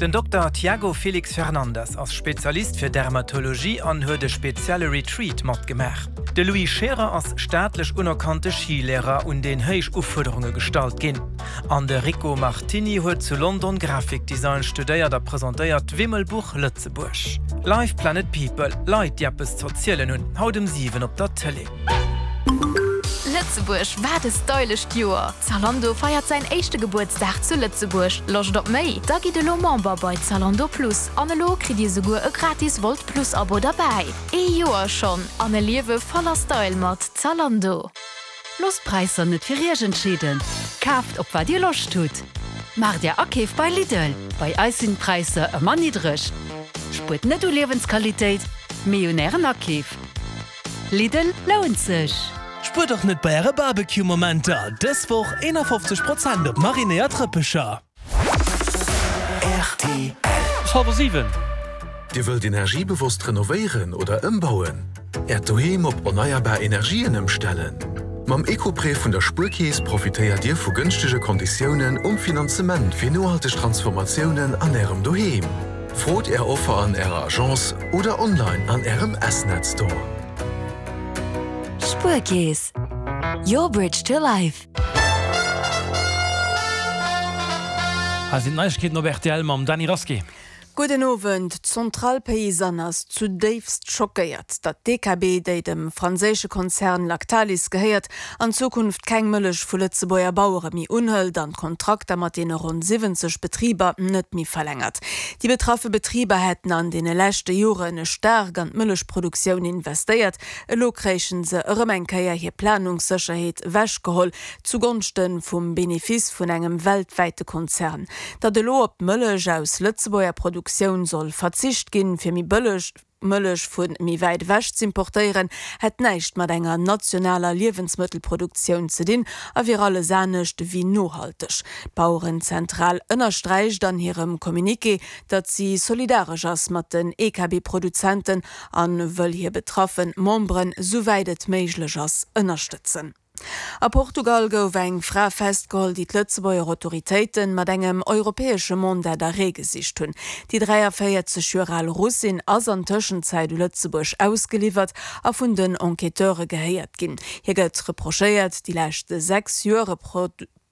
Den Dokter Tiago Felix Fernandes ass Spezialist fir Dermatologie an huet e spezielle Retreat matgemaach. De Louis Scherer ass staatlech unerkannte Skilehrer, un deen héich Ufuerderunge gestallt ginn. An de Rico Martini huet zu London Grafikdesign studéiert a presentéiert d'Wimmelbuch Lëtzebuerg. Live Planet People, Leit déi eppes z'erzielen hunn, haut um 7 op der Tëlee. Lëtzebuerg, wat e stylescht Joer! Zalando feiert säin éischte Gebuertsdag zu Lëtzebuerg. Loscht op méi? Da gitt elo Member bei Zalando Plus an elo kritt dir souguer e gratis Wolt Plus Abo derbäi. Ee Joer schonn an e Liewe voller Style mat Zalando. Loosst d'Präisser net fir Iech entscheeden, kaaft op wat Dir Loscht hutt. Maacht Är Akeef bei Lidl, bei eis sinn d'Präisser ëmmer niddreg. Spuert net u Liewensqualitéit, mee un Ären Akeef. Lidl lount sech! Spuert och net bei äre Barbecue Momenter, dës Woch 51 Prozent op marinéiert Rëppecher. Rtl. Ass hallwer 7. Dir wëllt energiebewosst renovéieren oder ëmbauen? Äert Doheem op erneierbar Energien ëmstellen? Mam Eco-Prêt vun der Spuerkeess profitéiert Dir vu gënschtege Konditiounen um Finanzement fir nohalteg Transformatiounen an Ärem Doheem. Frot Är Offer an Ärer Agence oder online an Ärem S-Net Store. Spuerkeess, your bridge to life. Hei sinn d'Neiegkeeten op rtl mam Dany Rasqué. Gudden Owend. D'Centrale Paysanne ass zudéifst schockéiert, datt d'DKB, déi dem franséische Konzern Lactalis gehéiert, an Zukunft keng Mëllech vu Lëtzebuerger Bauere méi unhëlt an d'Kontrakter mat deene ronn 70 Betriber net méi verlängert. Déi betraffe Betriber hätten an deene leschte Jore staark an d'Mëllechproduktioun investéiert. Elo kréichen se erëm eng Kéier hir Planungssécherheet ewechgeholl, zu Gonschte vum Benefice vun engem weltwäite Konzern. Datt elo op d'Mëllech aus Lëtzebuerger Produktioun soll verzicht ginn, fir méi bëlleg Mëllech vu méi wäit ewech z'importéieren, hätt näischt mat enger nationaler Liewensmëttelproduktioun ze dinn a wier alles anescht ewéi nohalteg. D'Bauerenzentral ënnersträicht an hirem Communiqué, datt si solidaresch ass mat den EKB-Produzenten an wëll hir betraffe Memberen, souwäit et méiglech ass, ënnerstëtzen. A Portugal gouf eng Fra festgeholl, déi d'Lëtzebuerger Autoritéite mat engem europäesche Mandat d'arrêt gesicht hunn. Déi 43 Joer al Russin ass an Tëschenzäit u Lëtzebuerg ausgeliwwert a vun den Enquêteure gehéiert ginn. Hir gëtt reprochéiert, déi lescht 6 Joer e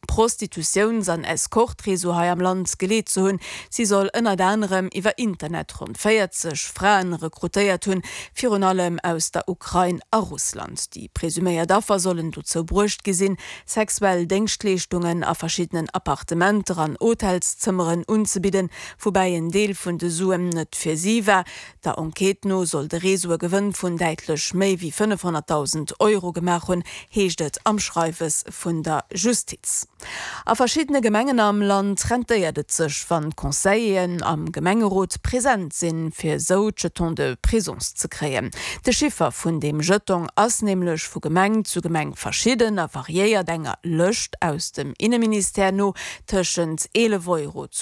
Prostitutiouns an Escorte-Réseau hei am Land geleet ze hunn. Si soll ënnert anerem iwwer Internet ronn 40 Fraen rekrutéiert hunn, virun allem aus der Ukrain a Russland. Déi presuméiert Affer sollen dozou bruecht gi sinn, sexuell Déngschtleeschtungen a verschiddenen Appartementer an Hotelszëmmeren unzebidden, woubäi en Deel vun de Suen net fir si war. Der Enquête no soll de Réseau e Gewënn vun däitlech méi wéi 500.000 Euro gemaach hunn, heescht et am Schreiwes vun der Justiz. A verschiddene Gemengen am Land rentéiert et sech, wann d'Conseilleren am Gemengerot present sinn, fir esou d'Jetons de présence ze kréien. De Chiffer vun deem Jetong ass nämlech vu Gemeng zu Gemeng verschidden a variéiert enger Lëscht aus dem Inneministère no tëschent 11 Euro zu.